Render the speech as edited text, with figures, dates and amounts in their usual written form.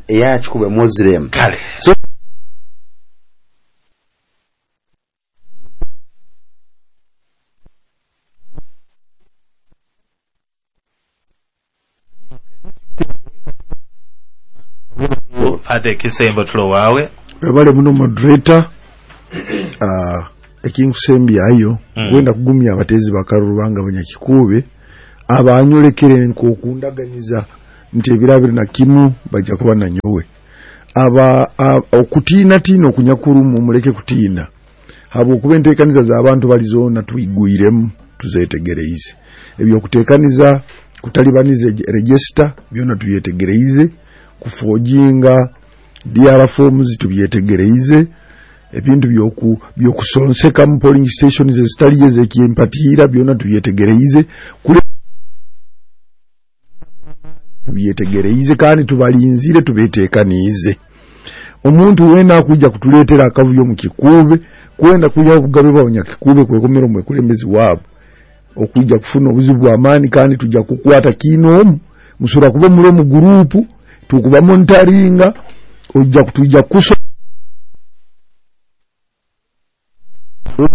eya Kikuube Muslim. Kale. So Ate ekisembo tulo waawe. Webale muno, moderator. Ekinkusembyayo, kwenda kugumya abateezi bakaruru bange abanyakikuube abanyolekere nkokundaganiza nti ebiro 21 bajja kuba nanyowe. Aba okutiinatiina okunyakurumu, muleke kutiina, habwokuba enteekaniza z'abantu bali zoona twigwiremu, tuzetegereize. Ebyokuteekaniza kutalibaniza register byona tubyetegereize, kuforginga DR forms tubyetegereize, ebintu byokusonseka mu polling stations ezitali ezekimpatiira byona tubyetegereize, kule tubyetegereize, kandi tubalinzire, tubetekaniize. Omuntu weena akwijja kutuleetera akavuyo mu Kikuube, kwenda kwihaho obugabe bw'abanyakikuube kwekomera omwekulembezi waabo, okwijja kufuna obuzibu bw'amaani, kandi tujja kukwata kiinoomu. Musobora kuba muli omu gurupu tukuba monitoringa, ojja kutwijja kuso.